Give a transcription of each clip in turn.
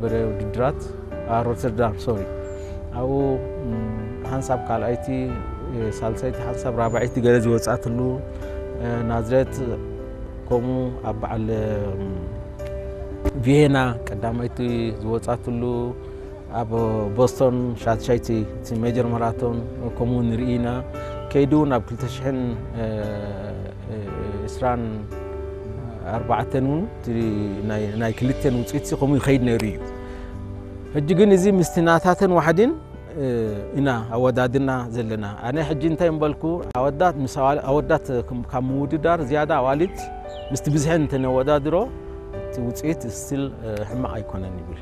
በረ ውድድራት፣ አ፣ ሮተርዳም፣ ሶሪ። ኣብኡ፣ ም፣ ሓንሳብ ካልኣይቲ፣ እ፣ ሳልሳይቲ፣ ሓንሳብ ራብዓይቲ ገለ ዝወጻትሉ፣ እ፣ ናዝሬት፣ ከምኡ ኣብ በዓል፣ ም፣ ቪየና ቀዳማይቲ ዝወጻትሉ፣ ኣብ ቦስቶን ሻትሻይቲ፣ እቲ ሜጀር ማራቶን፣ ከምኡ ንርኢ ኢና። ከይዱ ናብ ክልተ ሽሕን፣ እ፣ እ፣ ዕስራን ኣርባዕተን እውን እቲ ናይ፣ ናይ ክልተን ውጽኢት ከምኡ ይኸይድ ነይሩ እዩ። ሕጂ ግን እዚ ምስቲ ናታተን ዋሕዲን፣ እ፣ ኢና ኣወዳድና ዘለና። ኣነ ሕጂ እንታይ እምበልኩ፣ ኣወዳት ምስ ኣዋል-፣ ኣወዳት ከም-፣ ካብ ምውድዳር ዝያዳ ኣዋልድ ምስቲ ብዝሐን እንተነወዳድሮ፣ እቲ ውጽኢት ስቲል፣ እ፣ ሕማቕ ኣይኮነን ይብል።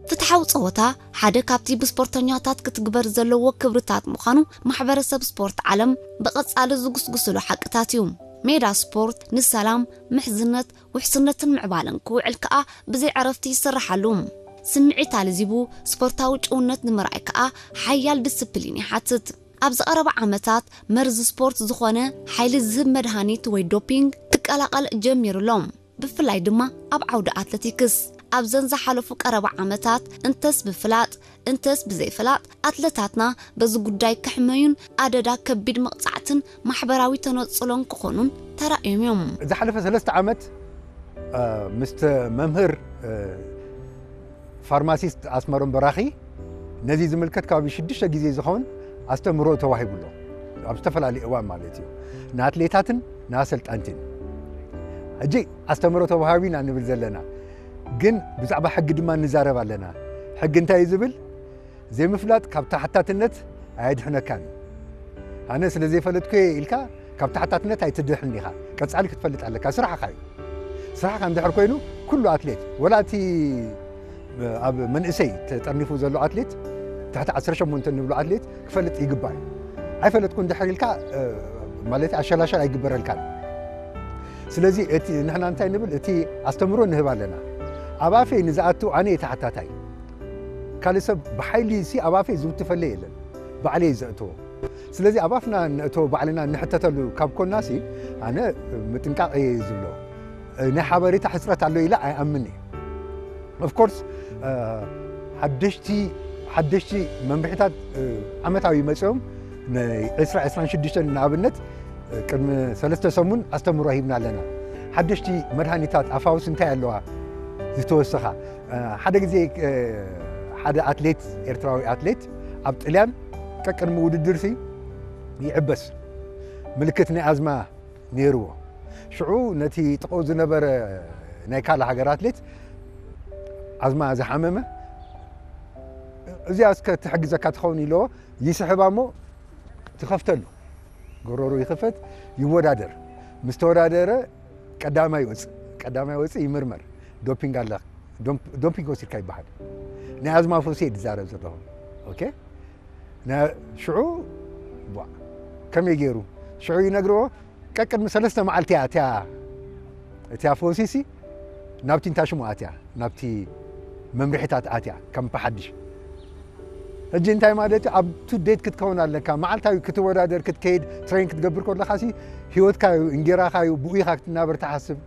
ፍትሓዊ ጸወታ ሓደ ካብቲ ብስፖርተኛታት ክትግበር ዘለዎ ክብርታት ምዃኑ ማሕበረሰብ ስፖርት ዓለም ብቐጻሊ ዝጉስጉስሉ ሓቅታት እዩ። ሜዳ ስፖርት ንሰላም፣ ምሕዝነት፣ ውሕስነትን ምዕባለን ክውዕል ከኣ ብዘይ ዕረፍቲ ይስርሓሉ። ስምዒት ኣልዚቡ ስፖርታዊ ጭውነት ንምርኣይ ከኣ ሓያል ዲስፕሊን ይሓትት። ኣብዚ ቀረባ ዓመታት መርዚ ስፖርት ዝኾነ ሓይሊ ዝህብ መድሃኒት ወይ ዶፒንግ ክቀላቐል ጀሚሩ ኣሎ። ብፍላይ ድማ ኣብ ዓውዲ ኣትለቲክስ። ኣብዘን ዝሓለፉ ቀረባ ዓመታት እንተስ ብፍላጥ እንተስ ብዘይፍላጥ ኣትለታትና በዚ ጉዳይ ክሕመዩን ኣደዳ ከቢድ መቕጻዕትን ማሕበራዊ ተነጽሎን ክኾኑን ተራእዮም እዮም። ዝሓለፈ ሰለስተ ዓመት፣ እ፣ ምስቲ መምህር፣ እ፣ ፋርማሲስት ኣስመሮም በራኺ ነዚ ዝምልከት ከባቢ ሽዱሽተ ግዜ ዝኸውን ኣስተምህሮ ተዋሂቡ ኣሎ። ኣብ ዝተፈላለዩ እዋን ማለት እዩ። ንኣትሌታትን ንኣሰልጠንትን። ሕጂ ኣስተምህሮ ተዋሂቡ ኢና ንብል ዘለና። ግን ብዛዕባ ሕጊ ድማ ንዛረብ ኣለና። ሕጊ እንታይ እዩ ዝብል? ዘይምፍላጥ ካብ ተሓታትነት ኣየድሕነካን እዩ። ኣነ ስለ ዘይፈለጥኩ እየ ኢልካ ካብ ተሓታትነት ኣይትድሕን ኢኻ። ቀጻሊ ክትፈልጥ ኣለካ። ስራሕኻ እዩ። ስራሕኻ እንድሕር ኮይኑ፣ ኩሉ ኣትሌት፣ ወላ እቲ ኣብ መንእሰይ ተጠርኒፉ ዘሎ ኣትሌት፣ ትሕቲ ዓሰርተ ሸሞንተ ንብሎ ኣትሌት ክፈልጥ ይግባእ እዩ። ኣይፈለጥኩ እንድሕር ኢልካ፣ እ፣ ማለት ኣሸላሸል ኣይግበረልካን። ስለዚ እቲ ንሕና እንታይ ንብል፣ እቲ ኣስተምህሮ ንህብ ኣለና። ኣብ ኣፈይ ንዝኣቱ ኣነ እየ ተሓታታይ። ካልእ ሰብ ብሓይሊ ሲ ኣብ ኣፈይ ዝውትፈለይ የለን። ባዕለይ እየ ዘእትዎ። ስለዚ ኣብ ኣፍና ነእትዎ ባዕልና ንሕተተሉ ካብ ኮናሲ ኣነ ምጥንቃቕ እየ ዝብሎ። ናይ ሓበሬታ ሕጽረት ኣሎ ኢለ ኣይኣምን እየ። Of course፣ እ፣ ሓደሽቲ፣ ሓደሽቲ መምርሒታት፣ እ፣ ዓመታዊ መጺኦም ናይ ዕስራ ዕስራን ሽዱሽተን ንኣብነት፣ እ፣ ቅድሚ ሰለስተ ሰሙን ኣስተምህሮ ሂብና ኣለና። ሓደሽቲ መድሃኒታት ኣፋውስ እንታይ ኣለዋ ዝተወሰኻ? እ፣ ሓደ ግዜ፣ እ፣ ሓደ ኣትሌት፣ ኤርትራዊ ኣትሌት ኣብ ጥልያን ቀቅድሚ ውድድርሲ ይዕበስ። ምልክት ናይ ኣዝማ ነይርዎ። ሽዑ ነቲ ጥቕኡ ዝነበረ ናይ ካልእ ሃገር ኣትሌት ኣዝማ ዝሓመመ፣ "እዚኣ እስከ ትሕግዘካ ትኸውን" ኢልዎ፣ ይስሕባ እሞ ትኸፍተሉ። ጎረሩ ይኽፈት፣ ይወዳደር። ምስ ተወዳደረ ቀዳማይ ይወጽእ። ቀዳማይ ይወጽእ፣ ይምርመር። ዶፒንግ ኣለ፣ ዶም-፣ ዶፒንግ ወሲድካ ይበሃል። ናይ ኣዝማ ፈውሲ እየ ዝዛረብ ዘለኹ። ኦኬ? ና-፣ ሽዑ፣ ቧ፣ ከመይ ገይሩ? ሽዑ ይነግርዎ፣ ቀቅድሚ ሰለስተ መዓልቲ እያ እቲያ፣ እቲያ ፈውሲሲ ናብቲ እንታሽሙ ኣትያ፣ ናብቲ መምርሒታት ኣትያ፣ ከም ብሓድሽ። ሕጂ እንታይ ማለት እዩ? ኣብ ቱ ዴት ክትከውን ኣለካ። መዓልታዊ ክትወዳደር፣ ክትከይድ፣ ትሬን ክትገብር ከለኻሲ ህይወትካ እዩ፣ እንጌራኻ እዩ፣ ብኡ ኢኻ ክትናበር ትሓስብ።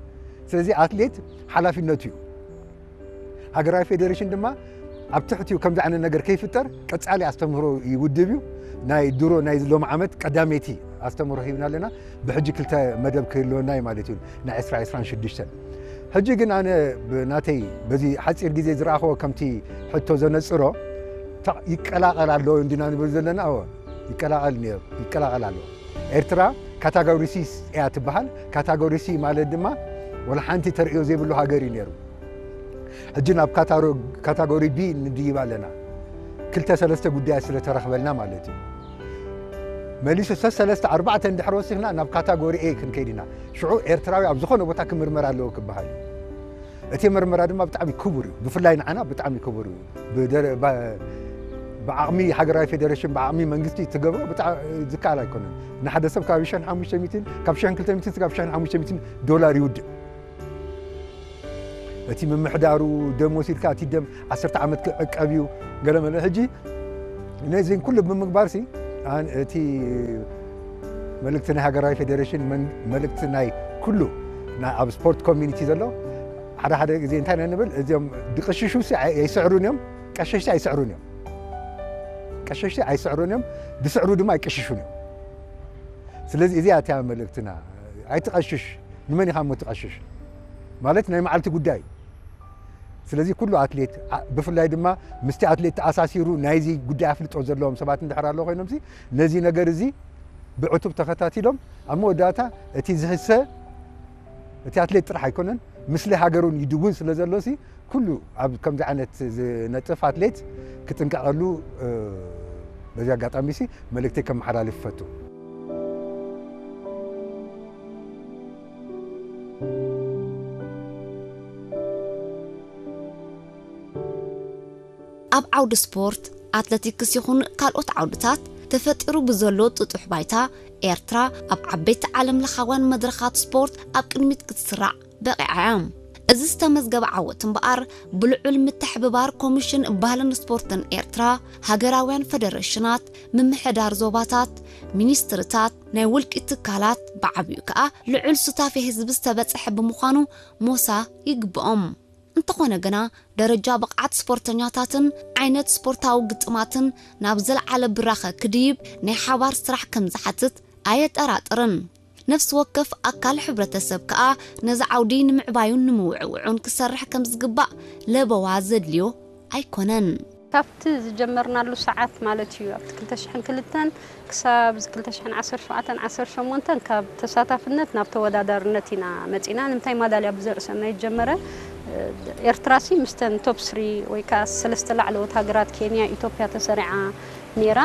ስለዚ ኣትሌት ሓላፊነቱ እዩ። ሃገራዊ ፌዴሬሽን ድማ ኣብ ትሕቲኡ ከምዚ ዓይነት ነገር ከይፍጠር ቀጻሊ ኣስተምህሮ ይውድብ እዩ። ናይ ድሮ፣ ናይ ሎሚ ዓመት ቀዳመይቲ ኣስተምህሮ ሂብና ኣለና። ብሕጂ ክልተ መደብ ክህልወና እዩ ማለት እዩ፣ ናይ ዕስራ ዕስራን ሽዱሽተን። ሕጂ ግን ኣነ ብናተይ በዚ ሓጺር ግዜ ዝረኣኽዎ ከምቲ ሕቶ ዘነጽሮ፣ ታ-፣ ይቀላቐል ኣሎ እንዲና ንብል ዘለና፣ እወ፣ ይቀላቐል ነይሩ፣ ይቀላቐል ኣሎ። ኤርትራ ካታጎሪ ሲ እያ ትበሃል። ካታጎሪ ሲ ማለት ድማ ወላ ሓንቲ ተርእዮ ዘይብሉ ሃገር እዩ ነይሩ። ሕጂ ናብ ካታሮ-፣ ካታጎሪ ቢ ንድይብ ኣለና። ክልተ ሰለስተ ጉዳያት ስለ ተረኽበልና ማለት እዩ። መሊሱ ሰ-፣ ሰለስተ ኣርባዕተ እንድሕር ወሲኽና ናብ ካታጎሪ ኤ ክንከይድ ኢና። ሽዑ ኤርትራዊ ኣብ ዝኾነ ቦታ ክምርመር ኣለዎ ክበሃል እዩ። እቲ ምርመራ ድማ ብጣዕሚ ክቡር እዩ። ብፍላይ ንዓና ብጣዕሚ ክቡር እዩ። ብደረ-፣ ባ-፣ ብዓቕሚ ሃገራዊ ፌዴሬሽን፣ ብዓቕሚ መንግስቲ ትገብሮ ብጣዕ-፣ ዝከኣል ኣይኮነን። ንሓደ ሰብ ካብ ሽሕን ሓሙሽተ ሚእትን፣ ካብ ሽሕን ክልተ ሚእትን ክሳብ ሽሕን ሓሙሽተ ሚእትን ዶላር ይውድእ። እቲ ምምሕዳሩ ደም ወሲድካ፣ እቲ ደም ዓሰርተ ዓመት ክዕቀብ እዩ፣ ገለ መለ። ሕጂ ነዚን ኩሉ ብምግባርሲ ኣን እቲ መልእክቲ ናይ ሃገራዊ ፌደሬሽን መን- መልእክቲ ናይ ኩሉ ናይ ኣብ ስፖርት ኮሚኒቲ ዘሎ ሓደ ሓደ ግዜ እንታይ ኢና ንብል፣ እዚኦም ድቅሽሹ ሲ ኣይ- ኣይስዕሩን እዮም። ቀሸሽቲ ኣይስዕሩን እዮም። ቀሸሽቲ ኣይስዕሩን እዮም። ድስዕሩ ድማ ኣይቀሽሹን እዮም። ስለዚ እዚኣ እቲያ መልእክትና። ኣይትቐሽሽ። ንመን ኢኻ እሞ ትቐሽሽ? ማለት ናይ መዓልቲ ጉዳይ እዩ። ስለዚ ኩሉ ኣትሌት ኣ- ብፍላይ ድማ ምስቲ ኣትሌት ተኣሳሲሩ ናይዚ ጉዳይ ኣፍልጦ ዘለዎም ሰባት እንድሕር ኣሎ ኮይኖም ሲ ነዚ ነገር እዚ ብዕቱብ ተኸታቲሎም ኣብ መወዳእታ እቲ ዝህሰ እቲ ኣትሌት ጥራሕ ኣይኮነን፣ ምስሊ ሃገሩን ይድውን ስለ ዘሎ ሲ ኩሉ ኣብ ከምዚ ዓይነት ዝነጥፍ ኣትሌት ክጥንቀቐሉ እ፣ በዚ ኣጋጣሚ ሲ መልእክተይ ከመሓላልፍ ይፈቱ። ኣብ ዓውዲ ስፖርት ኣትለቲክስ ይኹን ካልኦት ዓውድታት ተፈጢሩ ብዘሎ ጥጡሕ ባይታ ኤርትራ ኣብ ዓበይቲ ዓለም ለኻውያን መድረኻት ስፖርት ኣብ ቅድሚት ክትስራዕ በቒዓ እያ። እዚ ዝተመዝገበ ዓወት እምበኣር ብልዑል ምትሕብባር ኮሚሽን ባህልን ስፖርትን ኤርትራ፣ ሃገራውያን ፈደረሽናት፣ ምምሕዳር ዞባታት፣ ሚኒስትርታት፣ ናይ ውልቂ ትካላት ብዓብዩ ከኣ ልዑል ሱታፌ ህዝቢ ዝተበጽሐ ብምዃኑ ሞሳ ይግብኦም። እንተኾነ ግና ደረጃ ብቕዓት ስፖርተኛታትን ዓይነት ስፖርታዊ ግጥማትን ናብ ዘለዓለ ብራኸ ክድይብ ናይ ሓባር ስራሕ ከም ዝሓትት ኣየጠራጥርን። ነፍሲ ወከፍ ኣካል ሕብረተሰብ ከኣ ነዚ ዓውዲ ንምዕባዩን ንምውዕውዑን ክሰርሕ ከም ዝግባእ ለበዋ ዘድልዮ ኣይኮነን። ካብቲ ዝጀመርናሉ ሰዓት ማለት እዩ ኣብቲ ክልተ ሽሕን ክልተን ክሳብ ክልተ ሽሕን ዓሰርተ ሸውዓተን ዓሰርተ ሸሞንተን ካብ ተሳታፍነት ናብ ተወዳዳርነት ኢና መፂና። ንምንታይ ማዳልያ ብዘርእሰና ይጀመረ። ኤርትራ ሲ ምስተን ቶፕ ስሪ ወይ ከዓ ሰለስተ ላዕለዎት ሃገራት ኬንያ፣ ኢትዮጵያ ተሰሪዓ ነይራ።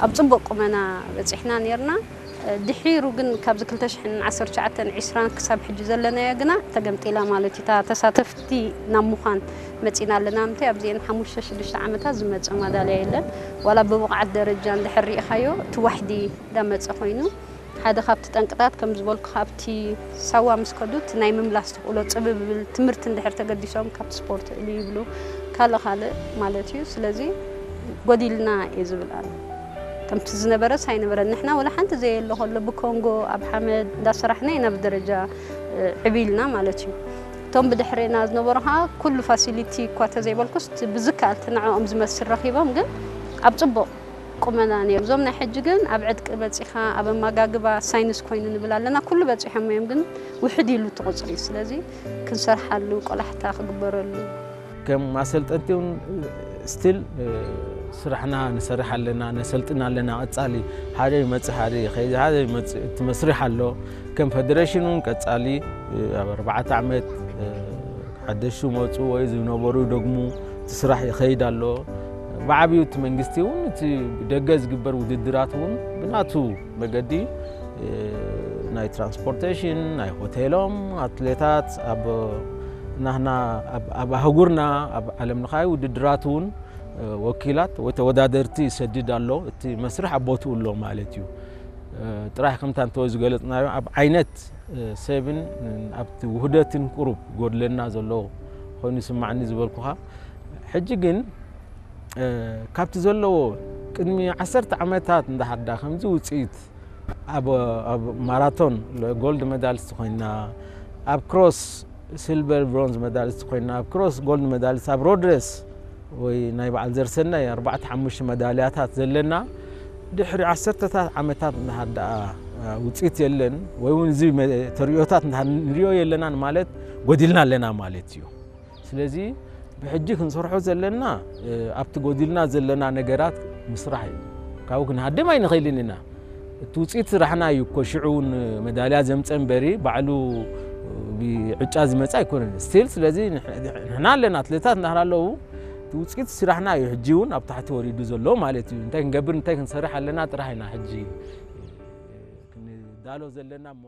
ኣብ ፅቡቅ ቁመና በፂሕና ነይርና። ድሒሩ ግን ካብዚ ክልተ ሽሕን ዓሰርተ ትሽዓተን ዒስራን ክሳብ ሕጂ ዘለናዮ ግና ተገምጢላ ማለት እዩ። እታ ተሳተፍቲ ናብ ምዃን መፂና ኣለና። ምንታይ ኣብዚአን ሓሙሽተ ሽዱሽተ ዓመታት ዝመፀ ማዳልያ የለን። ዋላ ብብቕዓት ደረጃ እንድሕር ርኢኻዮ እቲ ዋሕዲ እንዳመፀ ኮይኑ ሓደ ካብቲ ጠንቅታት ከም ዝበልኩ ካብቲ ሳዋ ምስ ከዱ እቲ ናይ ምምላስ ተኽእሎ ፅብብብል ትምህርቲ እንድሕር ተገዲሶም ካብቲ ስፖርት እሉ ይብሉ ካልእ ካልእ ማለት እዩ። ስለዚ ጎዲልና እየ ዝብል ኣነ። ከምቲ ዝነበረስ ኣይነበረን። ንሕና ወላ ሓንቲ ዘየለ ከሎ ብኮንጎ ኣብ ሓመድ እንዳሰራሕና ኢና ብደረጃ ዕብልና ማለት እዩ። እቶም ብድሕሬና ዝነበሩ ከዓ ኩሉ ፋሲሊቲ እኳ ተዘይበልኩስ ብዝከኣል እቲ ንዕኦም ዝመስል ረኪቦም ግን ኣብ ፅቡቅ ቁመና ነይሩ። እዞም ናይ ሕጂ ግን ኣብ ዕጥቂ በፂኻ ኣብ ኣመጋግባ ሳይንስ ኮይኑ ንብል ኣለና። ኩሉ በፂሖም እዮም ግን ውሕድ ኢሉ እቲ ቁፅሪ። ስለዚ ክንሰርሓሉ ቆላሕታ ክግበረሉ ከም ኣሰልጠንቲ እውን ስቲል ስራሕና ንሰርሕ ኣለና፣ ነሰልጥን ኣለና። ቀፃሊ ሓደ ይመፅእ ሓደ ይኸይድ፣ ሓደ ይመፅእ እቲ መስርሕ ኣሎ። ከም ፌደሬሽን እውን ቀፃሊ ኣብ ኣርባዕተ ዓመት ሓደሽቲ መፁ ወይ ዝነበሩ ይደግሙ፣ እቲ ስራሕ ይኸይድ ኣሎ። ብዓብዩ እቲ መንግስቲ እውን እቲ ብደገ ዝግበር ውድድራት እውን ብናቱ መገዲ ናይ ትራንስፖርቴሽን፣ ናይ ሆቴሎም፣ ኣትሌታት ኣብ ናህና ኣብ ኣህጉርና ኣብ ዓለም ለኻዊ ውድድራት እውን ወኪላት ወይ ተወዳደርቲ ይሰድድ ኣሎ። እቲ መስርሕ ኣብ ቦትኡ ኣሎ ማለት እዩ። ጥራሕ ከምታ እንተ ዝገለጽናዮ ኣብ ዓይነት ሰብን ኣብቲ ውህደትን ቁሩብ ጎድለና ዘሎ ኮይኑ ይስማዕኒ ዝበልኩኻ። ሕጂ ግን ካብቲ ዘለዎ ቅድሚ ዓሰርተ ዓመታት እንዳሓዳ ከምዚ ውፅኢት ኣብ ኣብ ማራቶን ጎልድ ሜዳሊስት ኮይና፣ ኣብ ክሮስ ሲልቨር ብሮንዝ ሜዳሊስት ኮይና፣ ኣብ ክሮስ ጎልድ ሜዳሊስት፣ ኣብ ሮድረስ ወይ ናይ በዓል ዘርሰናይ ኣርባዕተ ሓሙሽተ መዳልያታት ዘለና ድሕሪ ዓሰርተታት ዓመታት እንድሓር ደኣ ውፅኢት የለን ወይ እውን እዚ ተርእዮታት እንድሓር ንሪኦ የለናን ማለት ጎዲልና ኣለና ማለት እዩ። ስለዚ ብሕጂ ክንሰርሖ ዘለና ኣብቲ ጎዲልና ዘለና ነገራት ምስራሕ እዩ። ካብኡ ክንሃድም ኣይንኽእልን ኢና። እቲ ውፅኢት ስራሕና እዩ እኮ ሽዑ እውን መዳልያ ዘምፀ እምበሪ ባዕሉ ብዕጫ ዝመፀ ኣይኮነን። ስቲል ስለዚ ንሕና ኣለና ኣትሌታት እንዳህር ኣለዉ እቲ ውፅኢት ስራሕና እዩ ሕጂ እውን ኣብ ታሕቲ ወሪዱ ዘሎ ማለት እዩ። እንታይ ክንገብር እንታይ ክንሰርሕ ኣለና ጥራሕ ኢና ሕጂ ክንዳሎ ዘለና እሞ